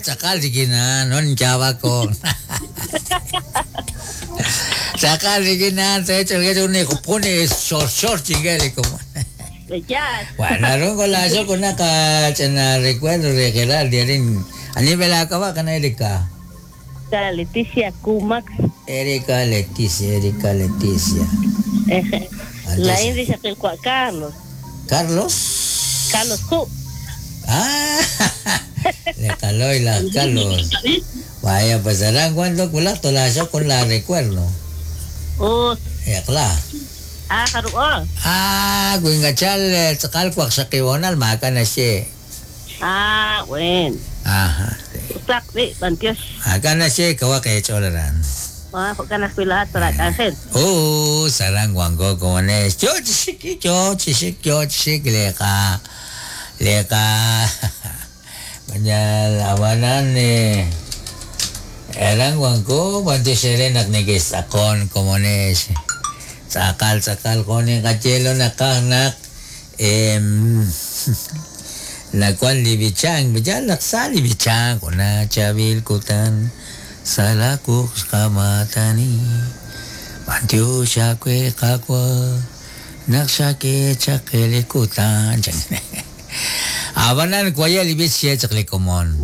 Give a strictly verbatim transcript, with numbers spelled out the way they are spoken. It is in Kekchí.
Tz'aqal rik'in a'an, no ninyaab'ak. Tz'aqal rik'in a'an, pone shor shor chingeli como. Ya. Bueno, rungo la yo con acá chena recuerdo de Gerard Diarín. A nivel acaba con Erika. Leticia Kumax. Erika Leticia, Erika Leticia. La índice que Carlos. Carlos. Carlos Q. Ah, le caló y la Carlos. Vaya, pues serán cuando culato la yo con la recuerdo. Oh. Eh, claro. Ah, haruo. Ah, guingachal, tzakal kwak maka na siya. Ah, bueno. Ajá. Utak, di, bantios. Acá na siya, kawa kay cholaran. Ah, ka na kuila para ángel. Oh, sarang guango como nes. Yo chisik, yo chisik, yo chisik, leka. Leka. Manyal awanan eh. Erang guango, bantios serenak nigis akon como nes. Sakal sakal ko ni kachelo nakanak em la cual libichang bijalak sa libichang kuna chabil kutan salakuk kamatani bantyo shakwe kakwa nakshake chakele kutan. Abanan kwaya libich siya chakle komon.